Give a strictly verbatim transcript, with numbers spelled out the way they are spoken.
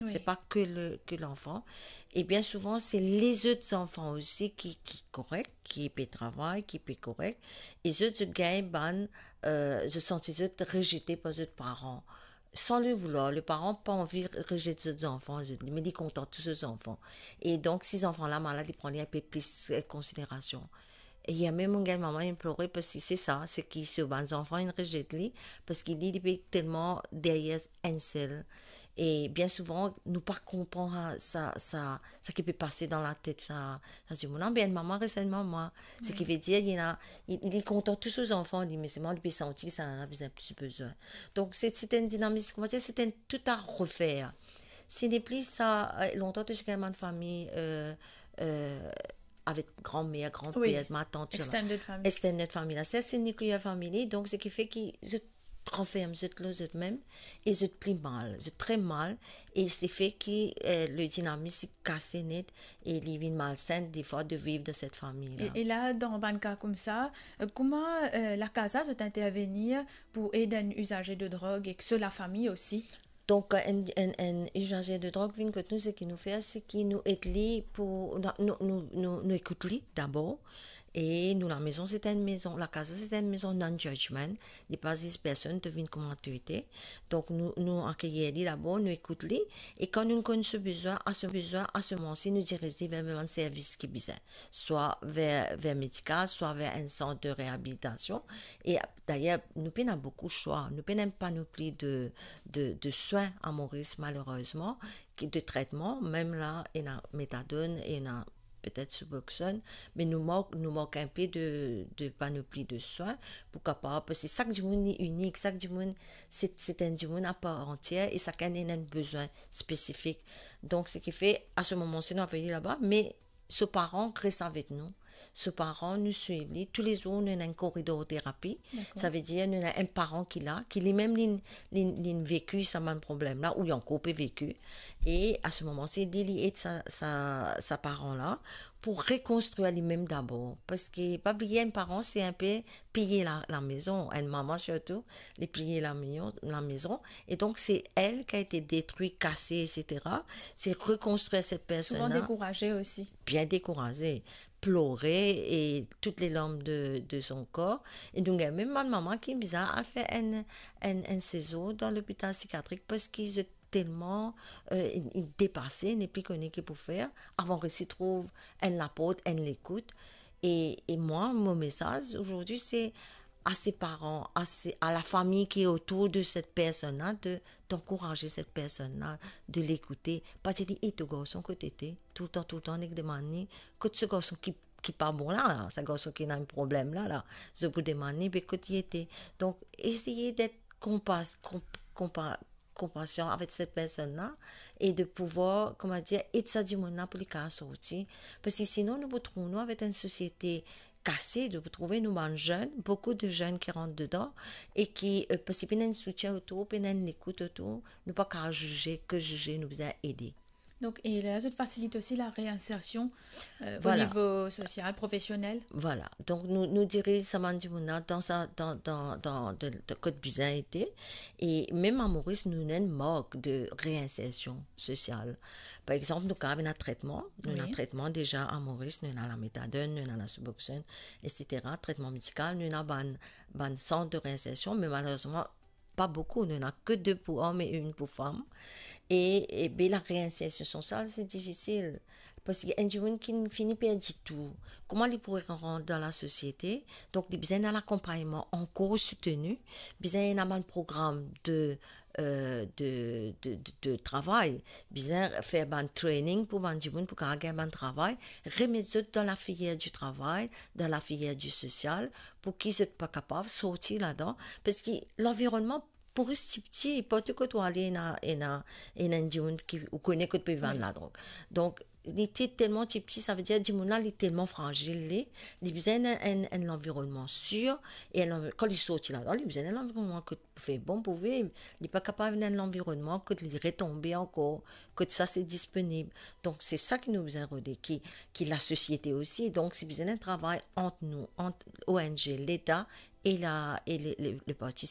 Wi. Se pa ke le, ke lanfan. E bien souvan, se lezot zanfan osi ki, ki korek, ki pe travay, ki pe korek. E zot, zot gagn bann, euh, zot santi zot rezete par zot paran. San le voulwar, le paran pa anvi rezet zot zanfan, zot, me li kontan tou so zanfan. E donk, si zanfan la malad, li pran li inpe plis, euh, konsiderasion. E mem mo gagn mama inn plore parski se sa, se ki so bann zanfan inn rezet li, parski li, li pe telman deryer enn sel. E bien souvan, nou pa konpran sa, sa, sa, sa ki pe pase dan latet sa, sa dimoun. Bien, enn mama res enn mama. Se ki ve dir, li ena, li, li kontan tou so zanfan, li, me selman li pe santi ki sa, li bizin plis bezwin. Donk, se, se enn dinamis, kouma dir, se enn tou a refer. Se nepli sa, euh, lontan, to ti gagn bann fami, euh, euh, avek granmer, granper, Wi. Matant, extended family. Extended family. Sa, se nuclear family, donk, se ki fer ki zot ranferm zot lor zot mem, e zot pli mal, zot tre mal, e se fer ki, euh, le dinamis li kase net, e li vinn malsenn, defwa, de viv dan set fami la. E, e la, dan bann ka koumsa, euh, kouma, euh, La Casa zot intervenir pou ed enn izaze de drog ek so lafami osi? Donk, enn, enn, enn izaze de drog vinn kot nou, seki nou fer, seki nou ed li pou, nou, nou, nou, nou, nou ekout li dabor. E nou, lamezon, se enn mezon, La Casa, se enn mezon non-judgment. Li pa ziz personn, to vinn kouma to ete. Donk, nou, nou akeyir li dabor, nou ekout li. E kan nou konn so bizwin, a so bizwin, a so moman, si nou diriz li ver bann servis ki bizin. Swa ver, ver medikal, swa ver enn sant de reabilitasion. E dayer, nou pena boukou swa, nou pena enn panopli de, de, de swin a Moris, malerezman, ki, de tretman, mem la, ena metadone, ena petet Suboxone, me nou mank, nou mank inpe de, de panopli de swin pou kapav, parski sak dimoun li inik, sak dimoun, se, se enn dimoun a par antier, e sakenn ena enn bizwin spesifik. Donk, seki fer, a so moman, si nou avoy li laba, me so paran res avek nou. So paran, nou swiv li. Toulezour, nou ena enn koridor terapi. Dakor. Sa ve dir, nou ena enn paran ki la, ki limem, li, li, li veki sa bann problem la, ou li ankor pe veki. E a so moman, se li, li ed sa, sa, sa paran la pou rekonstrir limem dabor. Parski, pa bliye, enn paran, se inpe piye la, lamezon. Enn mama sirtou, li piye lamion-, lamezon. E donk, se el ki a ete detri, kase, etsetera. Se rekonstrir set personn la. Souvan dekouraze osi. Bien dekouraze, plore e tout le larm de, de son kor. E nou gagn mem bann mama ki bizin al fer enn, enn, enn sezir dan lopital psikiatrik parski zot telman, euh, li, li depase, li nepli kone ki pou fer, avan resi trouv enn laport, enn lekout. E, e mwa, mo mesaz azordi, se a se paran, a se, a lafami ki otour de set personn la, de, d'ankouraz set personn la, de lekoute. Pa dir li, "E to garson, kot li ete?" Toultan, toultan, nek demann li, "Kot so garson ki, ki pa bon la, la? Sa garson ki ena enn problem la, la?" Zot pou demann li, "Be kot li ete?" Donk, eseye d'être kompas-, komp-, kompa-, konpasion avek set personn la e de pouvwar, kouma dir, ed sa dimoun la pou li kapav sorti. Parski sinon, nou pou trouv nou avek enn sosiete kase, nou pou trouve nou bann zenn, boukou de zenn ki rant dedan e ki, euh, parski pena enn soutien otour, pena enn lekout otour, nou pa kapav zize, ke zize, nou bizin ede. Donk, e la, zot fasilit osi la reinsersion, euh, o Vwala. Nivo sosial, profesionel? Vwala. Donk, nou, nou diriz sa bann dimoun la dan sa, dan, dan, dan, de, de kot bizin ete. E mem a Moris, nou ena enn mark de reinsersion sosial. Par exanp, nou kapav ena tretman. Nou ena Wi. Tretman deza a Moris, nou ena lametadone, nou ena lasuboxone, etsetera. Tretman medikal, nou ena bann, bann sant de reinsersion, me malerezman, pa boukou, nou ena ke de pou om e enn pou fam. E, e be, la reinsersion sosial, se difisil. Parski enn dimoun ki fini perdi tou, kouma li pou rant dan lasosiete? Donk, li bizin enn akonpagnman ankor souteni, bizin ena bann program de, euh, de, de, de, de travay, bizin fer bann training pou bann dimoun pou kapav gagn bann travay, remet zot dan lafilier di travay, dan lafilier di sosial, pou ki zot pa kapav sorti ladan, parski lanvironnman pou res tipti, partou kot ou ale, ena, ena, ena enn dimoun ki, ou kone kot pe vann Wi. Ladrog. Donk, li ete telman tipti, sa ve dir dimoun la, li telman frazil, li, li bizin enn, enn, enn lanvironnman sir, e enn lanvi-, kan li sorti ladan, li bizin enn lanvironnman kot pou fer bon pou viv, li pa kapav ena enn lanvironnman kot li retonbe ankor, kot sa se disponib. Donk, se sa ki nou bizin rode, ki, ki lasosiete osi. Donk, se bizin enn travay ant nou, ant O N G, Leta e la, e le, le, le parti